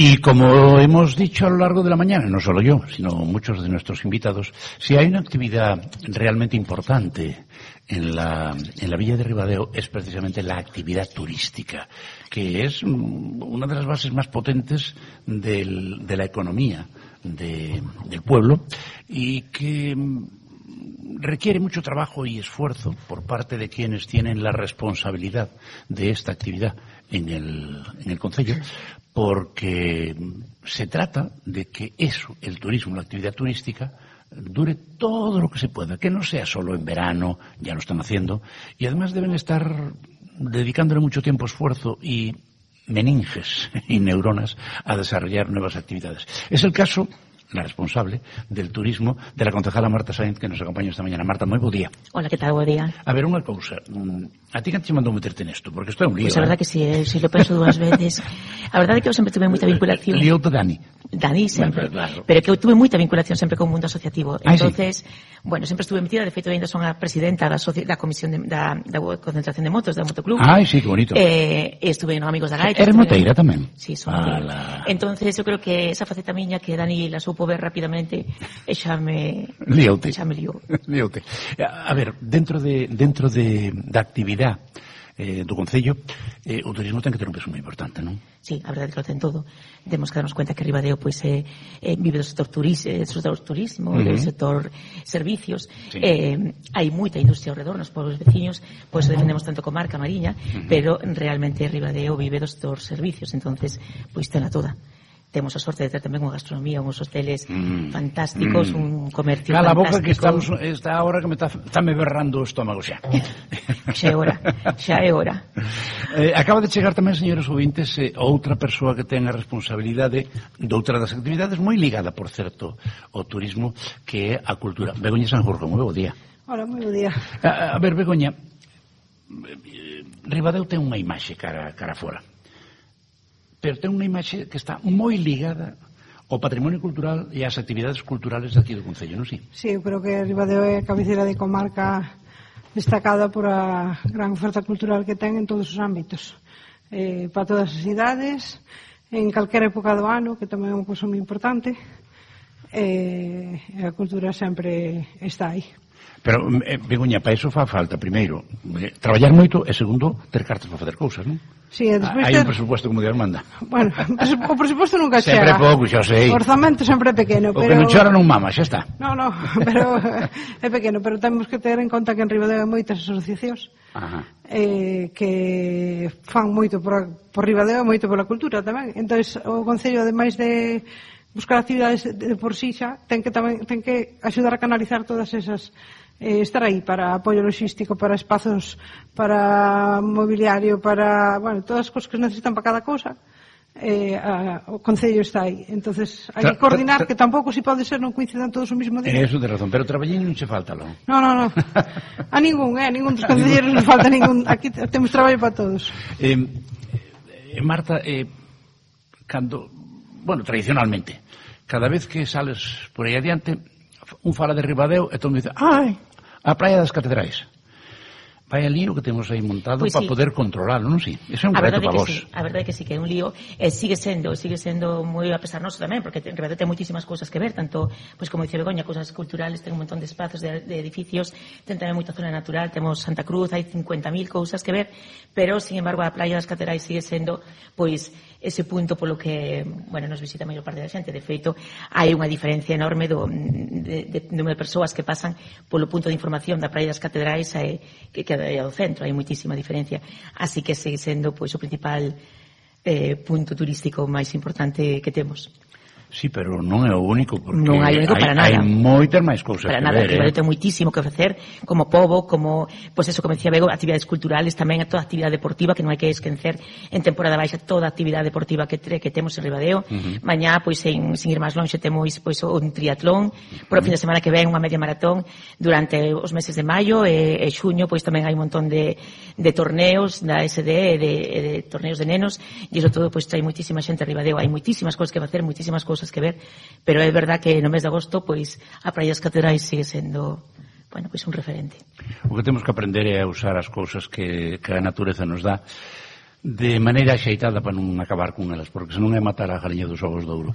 Y como hemos dicho a lo largo de la mañana, no solo yo, sino muchos de nuestros invitados, si hay una actividad realmente importante en la Villa de Ribadeo es precisamente la actividad turística, que es una de las bases más potentes de la economía del pueblo y que requiere mucho trabajo y esfuerzo por parte de quienes tienen la responsabilidad de esta actividad en el concello, porque se trata de que eso, el turismo, la actividad turística, dure todo lo que se pueda, que no sea solo en verano, ya lo están haciendo, y además deben estar dedicándole mucho tiempo, esfuerzo y meninges y neuronas a desarrollar nuevas actividades. Es el caso, la responsable del turismo, de la concejala Marta Sainz, que nos acompaña esta mañana. Marta, moi bo día. Hola, que tal? Bo día. A ver, unha cousa. A ti que te mandou meterte nesto? Porque isto é un lío. Pois a verdade que si, si lo penso dúas veces. A verdade que eu sempre tuve moita vinculación. Lío-te Dani. Dani sempre. Bueno, claro. Pero que eu tuve moita vinculación sempre con o mundo asociativo. Entonces, sí. Bueno, sempre estuve metida, de feito ainda son a presidenta da comisión da concentración de motos, da Motoclub. Ai, sí, que bonito. Estuve no Amigos da Gaita. Eres moteira tamén? Sí, son moteira. Entonces, eu creo que esa faceta miña que Dani la supo ver rapidamente e xa me liou. Líoute. A ver, dentro da actividade do Concello, o turismo ten que ter un peso moi importante, non? Sí, a verdade que lo ten todo. Temos que darnos cuenta que Ribadeo pois vive do sector turismo, do sector servicios. Sí. Hai moita industria ao redor nos pueblos veciños, pois defendemos tanto comarca, Mariña, pero realmente Ribadeo vive do sector servicios, entonces pois tena toda. Temos a sorte de ter tamén unha gastronomía, uns hoteles fantásticos, un comercio Cala fantástico. Cala boca que está ahora que me está me berrando o estómago xa. Xa é hora. Acaba de chegar tamén, señores ouvintes, outra persoa que ten a responsabilidade de outra das actividades moi ligada, por certo, ao turismo, que é a cultura. Begoña Sanjurjo, moi bo día. Hola, moi bo día. A ver, Begoña, Ribadeo ten unha imaxe cara fora, pero ten unha imaxe que está moi ligada ao patrimonio cultural e ás actividades culturales de aquí do Concello, non si? Sí, eu creo que Ribadeo é a cabeceira de comarca destacada por a gran oferta cultural que ten en todos os ámbitos, para todas as idades, en calquera época do ano, que tamén é unha cousa moi importante, a cultura sempre está aí. Pero, Begoña, para iso fa falta, primeiro, traballar moito e, segundo, ter cartas para facer cousas, non? Sí, hai un presupuesto como Dios manda. Bueno, o presupuesto nunca chega. Sempre pouco, xa sei. O orzamento sempre é pequeno. O que non chora non mama, xa está. No, pero é pequeno, pero temos que ter en conta que en Ribadeo hai moitas asociacións que fan moito por Ribadeo, moito pola cultura tamén. Entón, o Concello, ademais de buscar actividades de por sí xa, ten que axudar a canalizar todas esas, estar aí para apoio logístico, para espazos, para mobiliario, para, bueno, todas as cousas que necesitan para cada cousa. O Concello está aí, entonces hai que coordinar, que tampouco si pode ser non coincidan todos o mismo día. Eso de razón, pero traballín non che falta, non? No. A ningún dos concelleiros non falta ningún, aquí temos traballo para todos. Marta, cando, bueno, tradicionalmente, cada vez que sales por aí adiante, un fala de Ribadeo e todo me dice, ai, a Praia das Catedrais. Vai a lío que temos aí montado pues para poder controlarlo, non si? Eso é un reto para vos. A verdade é que sí, que é un lío. Sigue sendo moi a pesar noso tamén, porque en Ribadeo ten moitísimas cousas que ver, tanto, pues como dice Begoña, cousas culturales, ten un montón de espazos, de edificios, ten tamén moita zona natural, temos Santa Cruz, hai 50.000 cousas que ver, pero, sin embargo, a Praia das Catedrais sigue sendo, pois, ese punto polo que, bueno, nos visita a maior parte da xente. De feito, hai unha diferencia enorme do número de persoas que pasan polo punto de información da Praia das Catedrais que ao centro, hai moitísima diferencia, así que segue sendo pois o principal punto turístico máis importante que temos. Sí, pero non é o único, porque non hai único para nada. Hai moitas máis cousas para que nada, ver. Ribadeo ten moitísimo que ofrecer, como pobo, como, pois eso, como decía Bego, actividades culturales, tamén toda actividade deportiva, que non hai que esquecer en temporada baixa toda actividade deportiva que temos en Ribadeo. Mañá, pois, sin ir máis longe, temos pois un triatlón, por o fin de semana que ven unha media maratón durante os meses de maio e xuño, pois tamén hai un montón de torneos da SD e de torneos de nenos, e iso todo, pois, trae moitísima xente a Ribadeo, hai moitísimas cousas que facer, moitísimas cousas que ver, pero é verdad que no mes de agosto pois a Praia das Catedrais sigue sendo, bueno, pois un referente. O que temos que aprender é a usar as cousas que a natureza nos dá de maneira axeitada para non acabar con elas, porque senón é matar a galiña dos ovos de ouro.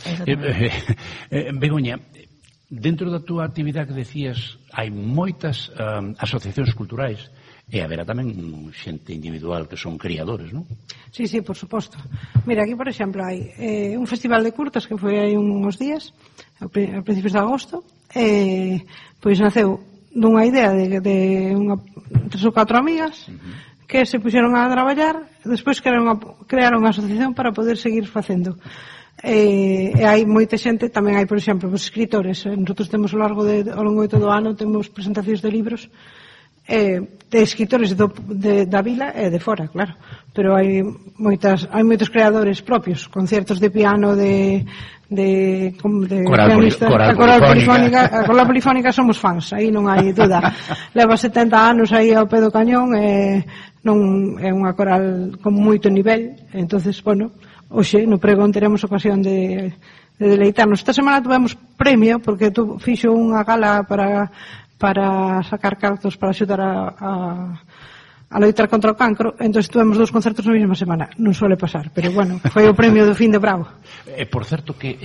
Begoña, dentro da túa actividade que decías, hai moitas asociacións culturais e haberá tamén xente individual que son criadores, non? Sí, por suposto. Mira, aquí, por exemplo, hai un festival de curtas que foi hai uns días, a principios de agosto, pois naceu dunha idea de 3 ou 4 amigas que se puxeron a traballar, despois crearon unha asociación para poder seguir facendo. E hai moita xente, tamén hai, por exemplo, os escritores. Nosotros temos ao longo de todo o ano temos presentacións de libros de escritores da vila e de fora, claro, pero hai moitos creadores propios, concertos de piano de coral polifónica. A coral polifónica somos fans, aí non hai duda. Leva 70 anos aí ao pé do cañón e non é unha coral con moito nivel. Entonces, bueno, hoxe no pregón teremos ocasión de deleitarnos. Esta semana tuvemos premio porque fixo unha gala para sacar cartos para axudar a loitar contra o cancro. Entón tuvemos 2 concertos na mesma semana. Non suele pasar, pero bueno, foi o premio do fin de Bravo. Por certo que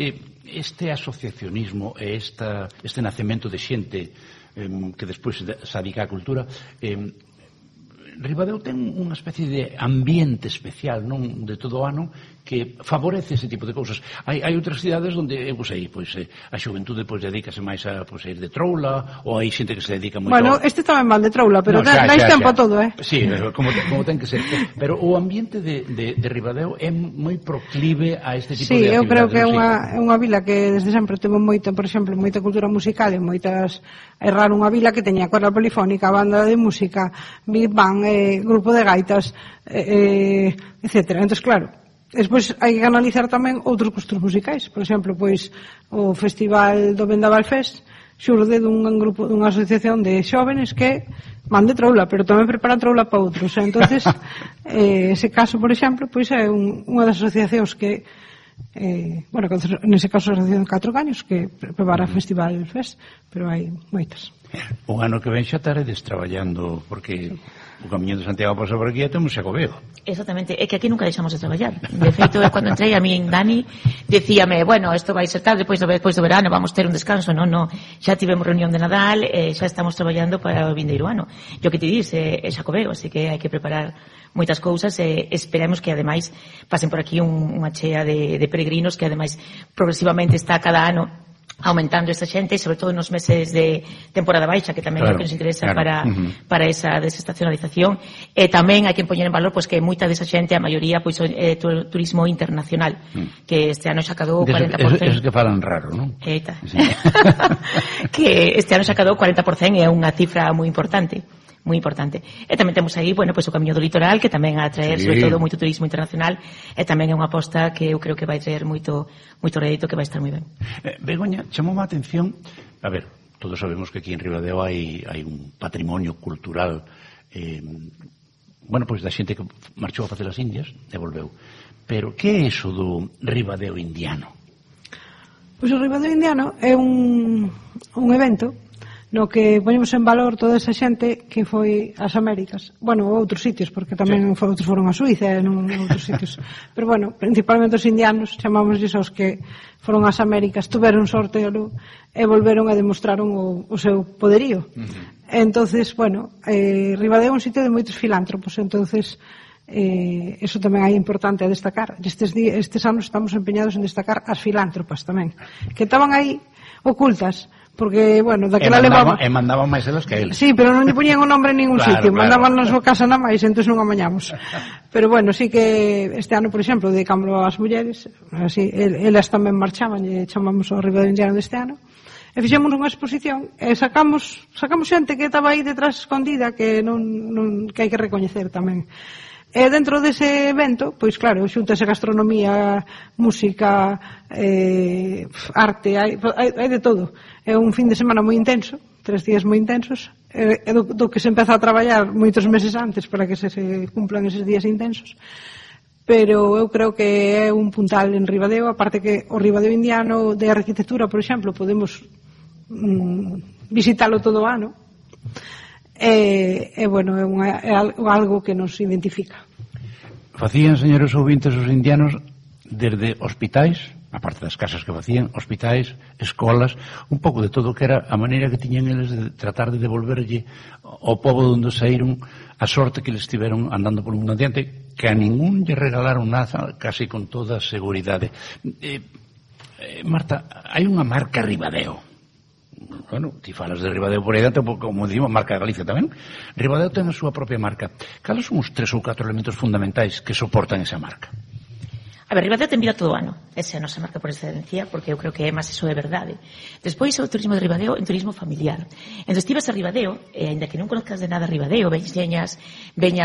este asociacionismo e este nacemento de xente que despois se adica á cultura, Ribadeo ten unha especie de ambiente especial, non, de todo o ano, que favorece ese tipo de cousas. Hai outras cidades onde, eu sei, a xuventude dedícase máis a ir de troula, ou hai xente que se dedica moito... Bueno, este tamén van de troula, pero dais tempo a todo, Sí, como ten que ser. Pero o ambiente de Ribadeo é moi proclive a este tipo de actividades. Sí, eu creo que é unha vila que desde sempre teve moita, por exemplo, moita cultura musical e moitas... É raro unha vila que teña coral polifónica, banda de música, big band, grupo de gaitas, etcétera. Entón, claro, despois hai que analizar tamén outros gustos musicais. Por exemplo, pois o festival do Vendaval Fest xurde dunha asociación de xóvenes que van de troula, pero tamén preparan troula para outros. Entonces, ese caso, por exemplo, pois é unha das asociacións que bueno, nese caso a asociación de 4 años que prepara o Festival Fest, pero hai moitas. O ano que ven xa estaredes traballando, porque o Camiño de Santiago pasa por aquí e temos Xacobeo. Exactamente, é que aquí nunca deixamos de traballar. De feito, cando entrei a min Dani decíame, bueno, isto vai ser tarde depois do verano, vamos ter un descanso. Non, xa tivemos reunión de Nadal, xa estamos traballando para o vindeiro ano. E o que te dis é Xacobeo, así que hai que preparar moitas cousas e esperemos que ademais pasen por aquí unha chea de peregrinos que ademais progresivamente está cada ano aumentando esta xente, sobre todo nos meses de temporada baixa, que tamén é o que nos interesa para esa desestacionalización. E tamén hai que poñer en valor que moita desa xente, a maioría, é turismo internacional, que este ano xa cadou 40%. Esos que falan raro, non? Eita. Que este ano xa cadou 40%, é unha cifra moi importante. Moi importante. E tamén temos aí, o Camiño do Litoral, que tamén a traer, sobre todo, moito turismo internacional, e tamén é unha aposta que eu creo que vai traer moito rédito, que vai estar moi ben. Begoña, chamou a atención, a ver, todos sabemos que aquí en Ribadeo hai un patrimonio cultural, da xente que marchou a facer as Indias, e volveu. Pero que é iso do Ribadeo indiano? Pois o Ribadeo indiano é un evento no que poñemos en valor toda esa xente que foi ás Américas, outros sitios, porque tamén outros foron a Suiza e non outros sitios, pero principalmente os indianos, chamámosles aos que foron ás Américas, tuveron sorte e volveron e demostraron o seu poderío. Entonces, Ribadeo é un sitio de moitos filántropos, entonces eso tamén é importante a destacar. Estes anos estamos empeñados en destacar as filántropas tamén, que estaban aí ocultas, porque, daquela levaba... E mandaban máis elas que eles. Sí, pero non lle poñían o nombre en ningún sitio, mandaban na súa casa na máis, entón non amañamos. Pero sí que este ano, por exemplo, dedicámoslo ás mulleres, así, elas tamén marchaban, e chamamos o Ribadeo indiano deste ano, e fixemos unha exposición, e sacamos xente que estaba aí detrás escondida, que hai que recoñecer tamén. E dentro dese evento, pois claro, xuntase gastronomía, música, arte, hai de todo. É un fin de semana moi intenso, 3 días moi intensos, do que se empeza a traballar moitos meses antes para que se cumplan eses días intensos. Pero eu creo que é un puntal en Ribadeo, aparte que o Ribadeo indiano de arquitectura, por exemplo, podemos visitalo todo o ano. É algo que nos identifica. facían, señores ouvintes, os indianos desde hospitais, a parte das casas que facían, hospitais, escolas, un pouco de todo o que era a maneira que tiñan eles de tratar de devolverlle ao pobo onde saíron a sorte que eles tiveron andando por un mundo adiante, que a ningún lle regalaron nada, casi con toda seguridade. Marta, hai unha marca Ribadeo. Bueno, ti falas de Ribadeo por aí dentro, como dicimos, marca de Galicia tamén. Ribadeo ten a súa propia marca. Cales son os 3 ou 4 elementos fundamentais que soportan esa marca? A ver, Ribadeo ten vida todo o ano. Esa é a nosa marca por excelencia, porque eu creo que é máis iso de verdade. Despois, o turismo de Ribadeo é un turismo familiar. Entón, estivas a Ribadeo, ainda que non conozcas de nada Ribadeo, veñas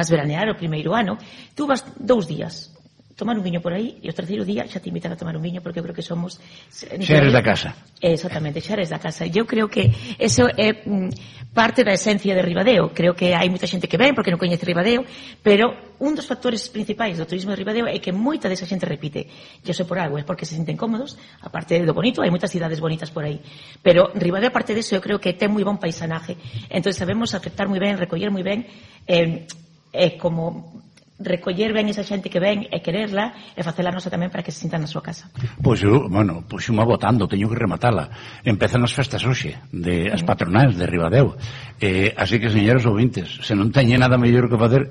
veranear o primeiro ano, tú vas 2 días tomar un viño por aí e o terceiro día xa te invitan a tomar un viño, porque eu creo que somos... Xa eres da casa. Exactamente, xa eres da casa. Eu creo que eso é parte da esencia de Ribadeo. Creo que hai moita xente que ven porque non coñece Ribadeo, pero un dos factores principais do turismo de Ribadeo é que moita desa xente repite. Eu sei por algo, é porque se senten cómodos, aparte do bonito, hai moitas cidades bonitas por aí. Pero Ribadeo, aparte disso, eu creo que ten moi bon paisanaje. Entón, sabemos aceptar moi ben, recoller moi ben, como recoller ben esa xente que ven e quererla e facela nosa tamén para que se sintan na súa casa. Pois eu, bueno, pois unha votando, teño que rematala. Empezan as festas hoxe, as patronais de Ribadeo. Así que, señores ouvintes, se non teñen nada mellor que facer,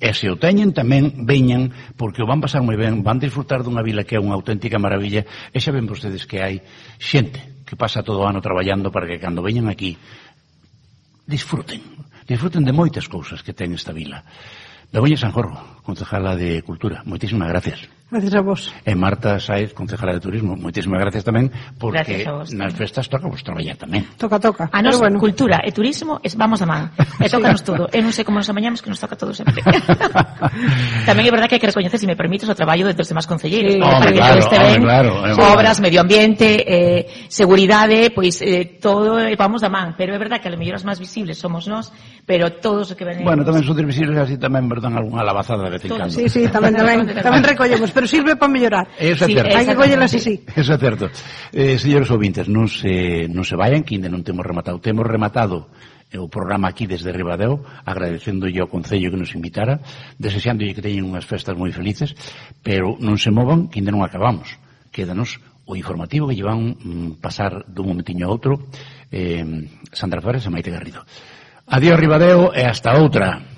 e se o teñen tamén veñan, porque o van pasar moi ben, van disfrutar dunha vila que é unha auténtica maravilla, e xa ven vostedes que hai xente que pasa todo o ano traballando para que cando veñan aquí disfruten de moitas cousas que ten esta vila. Begoña Sanjorro, concejala de Cultura, moitísimas gracias. Gracias a vos. E Marta Sáez, concejala de Turismo, moitísimas gracias tamén, porque nas festas toca vos traballar tamén. Toca. A nos, bueno, cultura e turismo vamos a man. E tócanos todo. Eu non sei como nos amañamos, que nos toca todo sempre. Tamén é verdade que hai que recoñecer, se me permites, o traballo de dos demás concelleiros. Claro. Obras, medio ambiente, seguridade, pois todo vamos da man. Pero é verdade que a lo mellor as máis visibles somos nós, pero todos os que ven... Bueno, tamén son visibles así tamén, verdad, algunha alabazada de vez en cando. Sí, tamén recollemos, pero sirve para mellorar. Eso é certo. Hai que collelas así. Eso é certo. Señores ouvintes, non se vayan, que ainda non temos rematado. Temos rematado o programa aquí desde Ribadeo, agradecéndolle ao Concello que nos invitara, desexándolle que teñen unhas festas moi felices, pero non se movan, que ainda non acabamos. Quédanos o informativo que llevan pasar dun momentiño a outro Sandra Flores e Maite Garrido. Adiós Ribadeo e hasta outra.